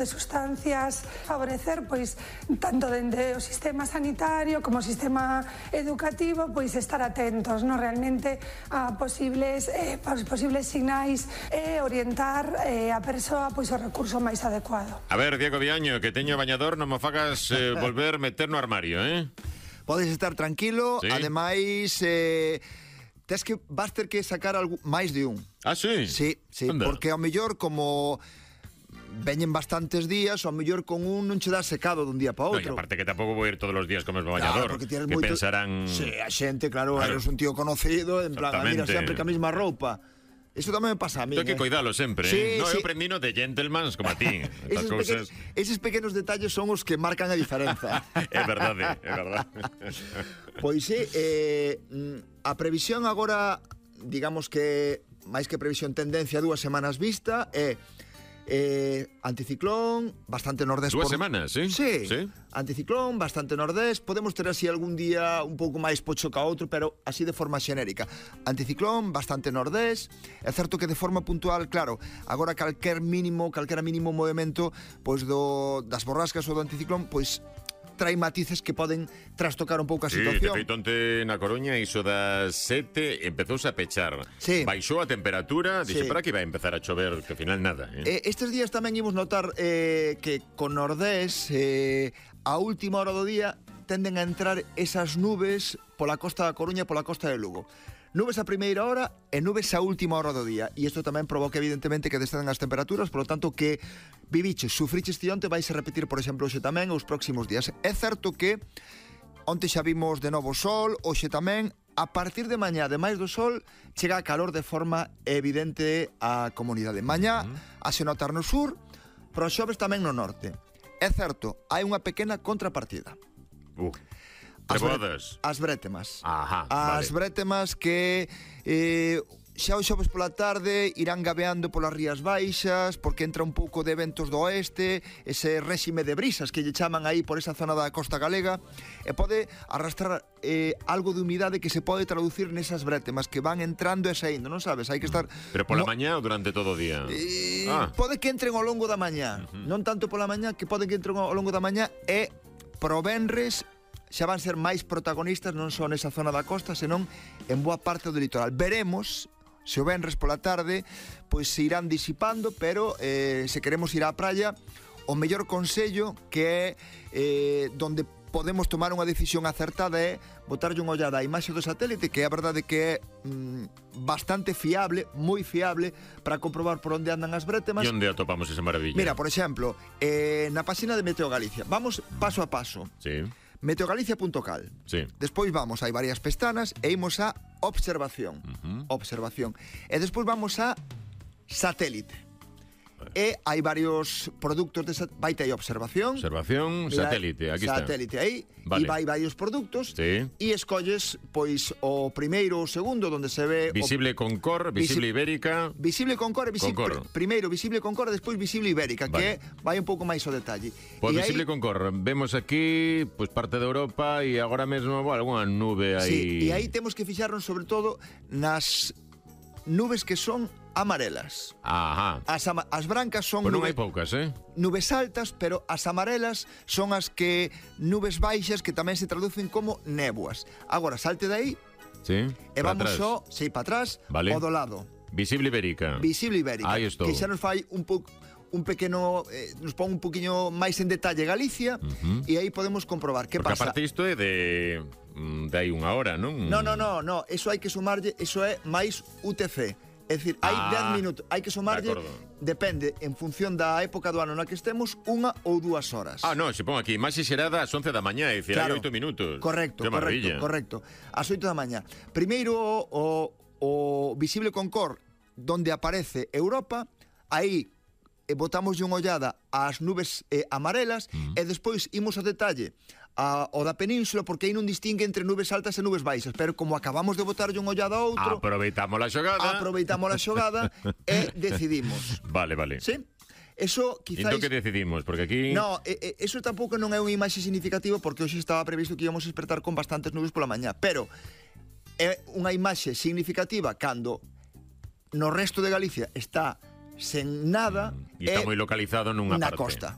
de sustancias, favorecer pois tanto dende o sistema sanitario como o sistema educativo pois estar atentos, no, realmente a posibles sinais e orientar a persoa pois o recurso máis adecuado. A ver, Diego Viaño, que teño bañador, non me fagas volver meter no armario, Podes estar tranquilo, sí. Ademais vas ter que sacar máis de un. Ah, sí? Sí, Anda. porque ao mellor como veñen bastantes días, ao mellor con un non che dá secado dun día para outro. No, e aparte que tampouco vou ir todos os días como el bañador, porque que moito... pensarán... Sí, a xente, claro, eres un tío conocido, en plan, mira sempre que a mesma roupa. Eso tamén me pasa a mí. Hay que cuidalo sempre, sí, No, sí. eu aprendino de gentlemans como a ti. Eses pequenos detalles son os que marcan a diferenza. É verdade, é verdade. Pois sí, a previsión agora, digamos que máis que previsión, tendencia 2 semanas vista, é anticiclón, bastante nordés. 2 semanas, sí? Sí. Anticiclón, bastante nordés. Podemos ter así algún día un pouco máis pocho ca outro, pero así de forma xenérica. Anticiclón, bastante nordés. É certo que de forma puntual, claro, agora calquera mínimo movimento pois das borrascas ou do anticiclón, pois trae matices que poden trastocar un pouco a situación. Sí, de feito onte na Coruña iso das 7 empezouse a pechar. Sí. Baixou a temperatura, dixe, Sí. para que vai a empezar a chover, que ao final nada. Estes días tamén imos notar que con nordés a última hora do día tenden a entrar esas nubes pola costa da Coruña e pola costa de Lugo. Nubes a primeira hora e nubes a última hora do día. E isto tamén provoca, evidentemente, que descendan as temperaturas, polo tanto, que viviches, sufriches tionte, vais a repetir, por exemplo, hoxe tamén os próximos días. É certo que onte xa vimos de novo sol, hoxe tamén, a partir de mañá, ademais do sol, chega a calor de forma evidente á comunidade. Mañá, a se notar no sur, pero os xoves tamén no norte. É certo, hai unha pequena contrapartida. As brétemas. Ajá, As brétemas que xa os xoves pola tarde irán gabeando polas rías baixas, porque entra un pouco de ventos do oeste, ese réxime de brisas que lle chaman aí por esa zona da costa galega, e pode arrastrar algo de humidade que se pode traducir nesas brétemas que van entrando e saindo, non sabes? Hai que estar... Pero pola mañá ou durante todo o día? Pode que entren ao longo da mañá, non tanto pola mañá, que pode que entren ao longo da mañá, e pro venres xa van ser máis protagonistas non só nesa zona da costa, senón en boa parte do litoral. Veremos se o venres pola tarde pois se irán disipando, pero se queremos ir á praia, o mellor consello que é donde podemos tomar unha decisión acertada é botarlle unha ollada á imaxe do satélite, que é a verdade que é bastante fiable, moi fiable, para comprobar por onde andan as brétemas. E onde atopamos esa maravilla? Mira, por exemplo, na páxina de Meteo Galicia, vamos paso a paso. Sí. Meteogalicia.cal. Sí. Despois vamos, hai varias pestanas, e imos a observación. Observación. E despois vamos a satélite. E hai varios produtos de vaite aí observación. Observación, mira, satélite, aquí está. Satélite aí, vale. E vai varios produtos. Sí. E escolles, pois, o primeiro ou segundo, donde se ve... Visible con cor, visible ibérica... Visible con cor e visible... Primeiro visible con cor e despois visible ibérica, vale. Que vai un pouco máis ao detalle. Pois visible aí, con cor, vemos aquí pois parte de Europa e agora mesmo algunha nube aí... Sí, e aí temos que fixarnos sobre todo nas nubes que son amarelas. Ajá. As brancas son non hai poucas, nubes altas, pero as amarelas son as que nubes baixas que tamén se traducen como néboas. Agora, salte de aí. Sí. E vamos só, para atrás, vale. O do lado. Visible ibérica. Visible ibérica. Aí estou. Que xa nos fai un pequeno, nos pon un poquinho máis en detalle Galicia, e aí podemos comprobar que porque pasa. Porque aparte isto é de aí unha hora, non? No, eso hai que sumarlle, eso é máis UTC. É dicir, hai 10 minutos, hai que sumarlle, depende, en función da época do ano na que estemos, 1 ou 2 horas. No, se pon aquí, máis xerada ás 11 da mañá, é dicir, claro, hai 8 minutos. Correcto, correcto. Ás 8 da mañá. Primeiro, o visible con cor, donde aparece Europa, aí botamos unha ollada ás nubes amarelas, e despois imos ao detalle o da península, porque aí non distingue entre nubes altas e nubes baixas, pero como acabamos de botarlle unha ollada a outro, aproveitamos a xogada e decidimos. Vale. Sí? Eso quizás... Entón que decidimos? Porque aquí... No, eso tampouco non é unha imaxe significativa, porque hoxe estaba previsto que íbamos a despertar con bastantes nubes pola mañá, pero é unha imaxe significativa cando no resto de Galicia está sen nada e está moi localizado nunha na parte. costa.